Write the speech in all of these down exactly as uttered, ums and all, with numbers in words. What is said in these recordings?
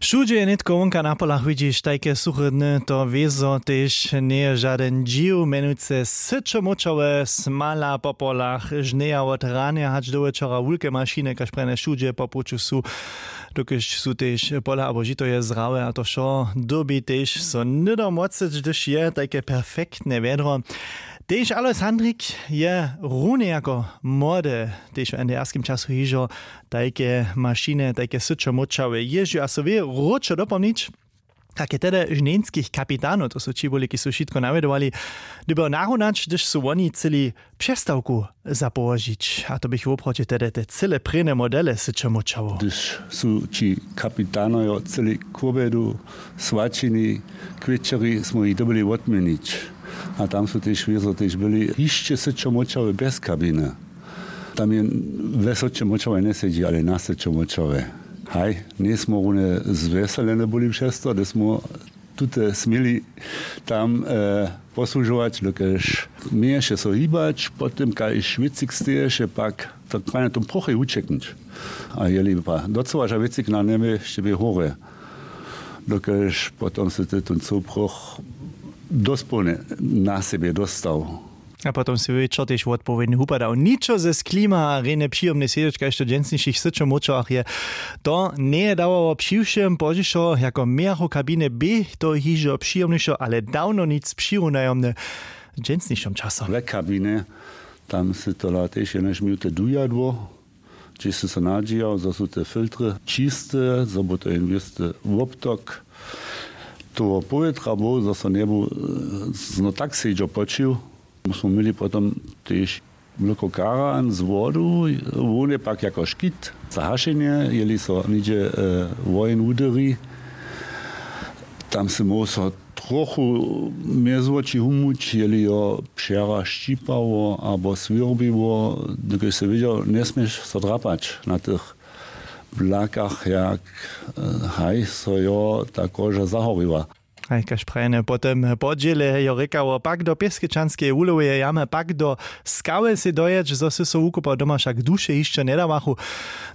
Wšudźe je nětko wonka na polach widźiš tajke suche dny, to wězo tež njeje žadyn dźiw, mjenujce syćo móčałe smala po polach žneja wot ranje hač do wječora wulke mašiny kaž prjene wšudźe po puću su, dokelž su tež pola abo žito je zrawe a to wšo dyrbi tež so hnydom wocyć hdyž je tajke perfektne wjedro. Tež alois handrik je runje jako młode tež w ndrskim času hižo tajke mašiny tajke syćo móčałe jězdźu a so wě wróćo dopomnić, kak je tehdy žnjenskich kapitanow, to su ći wuliki su wšitko nawjedowali, dyrbjał narunać hdyž su woni chcyli přestawku zapołožić a to běchu woprawdźe tehdy te cyle prěne modele syćo móčało. Hdyž su ći kapitanojo chcyli k wobjedu swaćini k wječeri smy jich dyrbjeli wotměnić. A tam su tež wězo tež byli hišće syćo móčałe bjez kabiny. Tam je we syćo móčałe njesedźi ale na syćo móčałe. Haj, njejsmy runje zwjeselene byli přez to hdyž smy tute směli tam posłužować dokelž měješe so hibać po tym kaž wěcik steješe pak tak prajnje tom prochej wućeknyć. A jeli pa docyła ža wěcik na njebje šće bě hórje, dokelž potom sy ty tón cył proch dospołnje na sebje dóstał. A potom sy wječor tež wotpowědnje wupadał ničo ze sklima a rjenje přijomnje sjedźeć kaž to w dźensnišich syćomóčałach je. To njeje dawało při wšěm pozdźišo jako mějachu w kabinje bě to hižo přijomnišo ale dawno nic přirunajo mnje w dźensnišom času. We kabinje tam sy tola tež jenož minuty dujadło, hdźež sy so nadźijał zo su te filtry čiste zo bu to jen wěsty wobtok toho powětra był zo so njebu zno tak sedźo poćił. Smy měli potom tež wloko karan z wodu, wón je pak jako škit za hašenje jeli so něhdźe woheń wudyri. Tam sy móhł so trochu mjez woči humłuć jeli jo přera šćipało abo swěrbiło, dokelž sy wědźał njesměš so drapać na tych blakach jak haj so jo ta koža zahoriła. Haj kaž prajene po tym podźěle jo rěkało pak do pěskečanskeje wuloweje jamy pak do skały sej dojeć zo sy so wukopał doma wšak duše hišće njedawachu.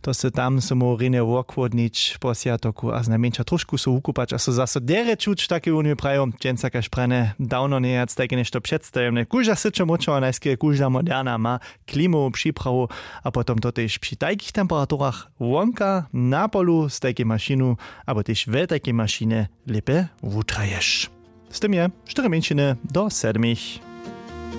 To sy tam so móhł rjenje wochłódnić po swjatoku a znajmjeńša tróšku so wukupać a so zaso derje čuć w takej wunje prajił dźensa kaž prajene dawno njejac tajke něšto předstajomne kóžda syćo móčała najskerje kóžda moderna ma klimowu připrawu. A potom to tež při tajkich temperaturach wonka na polu z tajkej mašinu abo tež we tajkej mašinje lěpje wutraješ. Z tym je štyri mjeńšiny do sedmich.